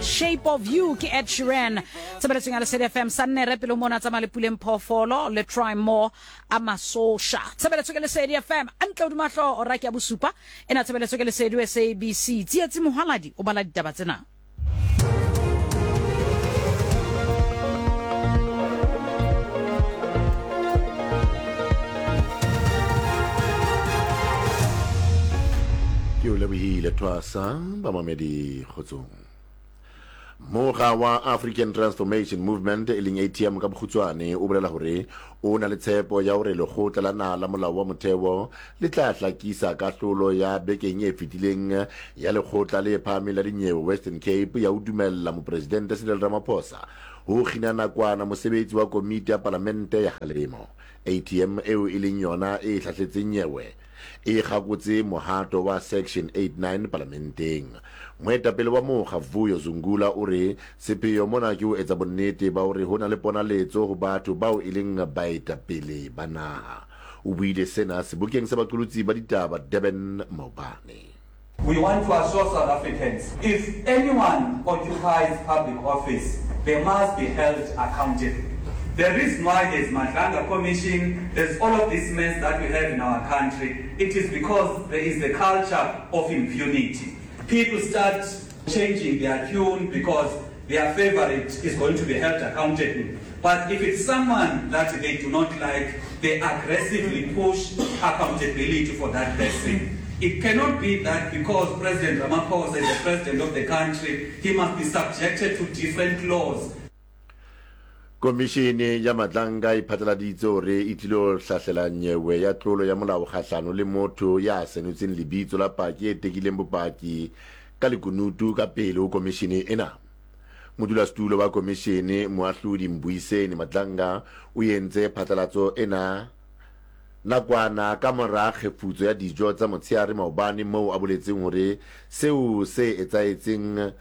Shape of You ke Ed Sheeran tshebeletsong ya Lesedi FM Sannere pele mona tsamaya le Puleng Phoofolo le Try More a Masosha tshebeletso ke Lesedi FM antle hodima hlooho ora ke ya bosupa ena tshebeletso ke Lesedi SABC Tsietsi Mohwaladi o bala ditaba tsena. Ke o lebohile Thwasa, bamamedi kgotsong. Moga wa African Transformation Movement e leng ATM ka bokgutswane o bolela hore o na le tshepo ya hore lekgotla la naha la molao wa motheo le tla hlakisa kahlolo ya bekeng e fetileng ya lekgotla le phahameng la dinyewe Western Cape ya ho dumella Mopresidente Cyril Ramaphosa ho kgina nakwana mosebetsi wa komiti ya palamente ya kgalemo. ATM eo e leng yona e hlahletseng nyewe e kgakotse mohato wa Section 89 palamenteng. Moetapele wa mokga Vuyo Zungula o re sepheo mona ke ho etsa bonnete ba hore ho na le ponaletso ho batho bao e leng baetapele ba naha. O buile sena sebokeng sa baqolotsi ba ditaba Durban maobane. We want to assure South Africans if anyone occupies public office, they must be held accountable. The reason why there's Madlanga Commission, there's all of this mess that we have in our country, it is because there is the culture of impunity. People start changing their tune because their favorite is going to be held accountable. But if it's someone that they do not like, they aggressively push accountability for that person. It cannot be that because President Ramaphosa is the president of the country, he must be subjected to different laws. Komišene ya Matlanka e phatlaladitse hore e tlilo hlahlela nyewe ya tlolo ya molao kgahlano le motho ya senotseng lebitso la paki e tekileng bopaki ka lekunutu ka pele ho komishene ena. Modulasetulo wa komishene, Moahlodi Mbuyiseni Madlanga, o entse phatlalatso ena nakwana ka mora kgefutso ya dijo tsa motsheare maobane moo a boletseng hore seo se etsahetseng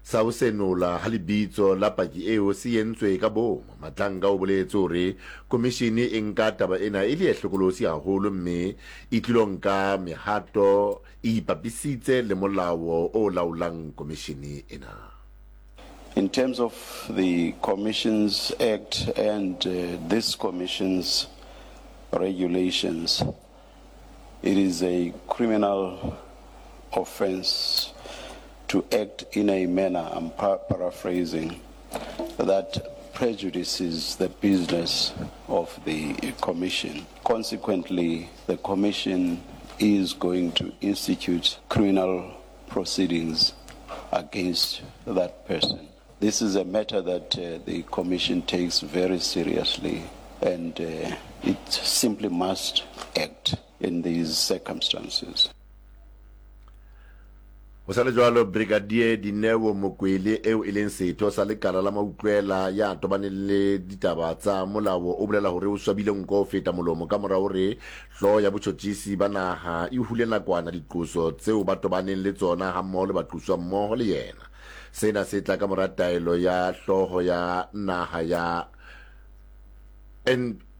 sa ho senola ha lebitso la paki eo se entswe ka boomo. Madlanga o boletse hore komishene e nka taba ena e le e hlokolosi haholo mme e tlilo nka mehato e ipapisitse le molao o laolang komishene ena. In terms of the Commissions Act and this Commission's regulations, it is a criminal offense to act in a manner, I'm paraphrasing, that prejudices the business of the Commission. Consequently, the Commission is going to institute criminal proceedings against that person. This is a matter that uh, the Commission takes very seriously and uh, it simply must act in these circumstances. Ho sa le jwalo, Brigadier Dineo Mokwele eo e leng setho sa lekala la mautlwela ya tobaneng le ditaba tsa molao o bolela hore o swabile nko ho feta molomo ka mora hore hlooho ya botjhotjhisi ba naha e hule nakwana diqoso tseo ba tobaneng le tsona hammoho le baqoswa mmoho le yena. Sena se tla ka mora taelo ya hlooho ya naha ya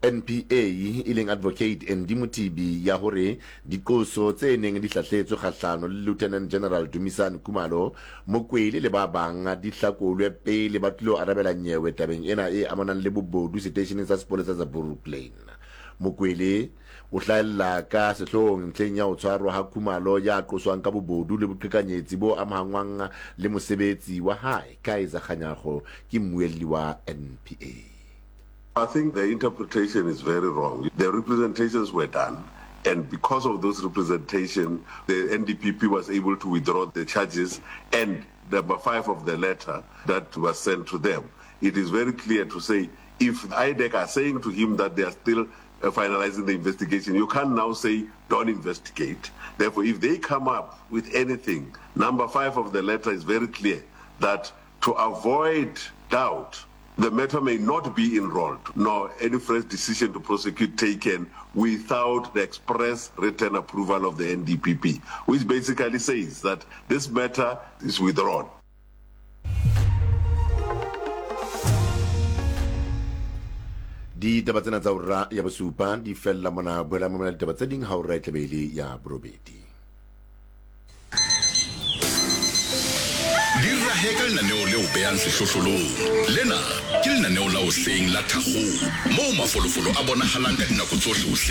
NPA e leng Advocate Andy Mothibi ya hore diqoso tse neng di hlahletswe kgahlano le Lieutenant General Dumisani Khumalo, Mokwele le ba bang di hlakolwe pele ba tlilo arabela nyewe tabeng ena e amanang le bobodu seteisheneng sa sepolesa sa Brooklyn. Mokwele o hlahella ka sehloohong ntlheng ya ho tshwarwa ha Khumalo ya qoswang ka bobodu le boqhekanyetsi bo amahangwang le mosebetsi wa hae, Kaizer Kganyago ke mmuelli wa NPA. I think the interpretation is very wrong. The representations were done and because of those representation, the NDPP was able to withdraw the charges and number 5 of the letter that was sent to them. It is very clear to say if IDEC are saying to him that they are still uh, finalizing the investigation, you can't now say don't investigate. Therefore, if they come up with anything, number 5 of the letter is very clear that to avoid doubt, the matter may not be enrolled nor any fresh decision to prosecute taken without the express written approval of the NDPP, which basically says that this matter is withdrawn. Ditaba tsena tsa ura ya bosupa di fella mona. Boela mamela ditaba tse ding ha ura e tlabe e le ya borobedi. Di rahela. Hlahe ka lenaneo le o behang sehlohlolong. Lena ke lenaneo la hoseng la Thakgong moo mafolofolo a bonahalang ka dinako tsohle hoseng.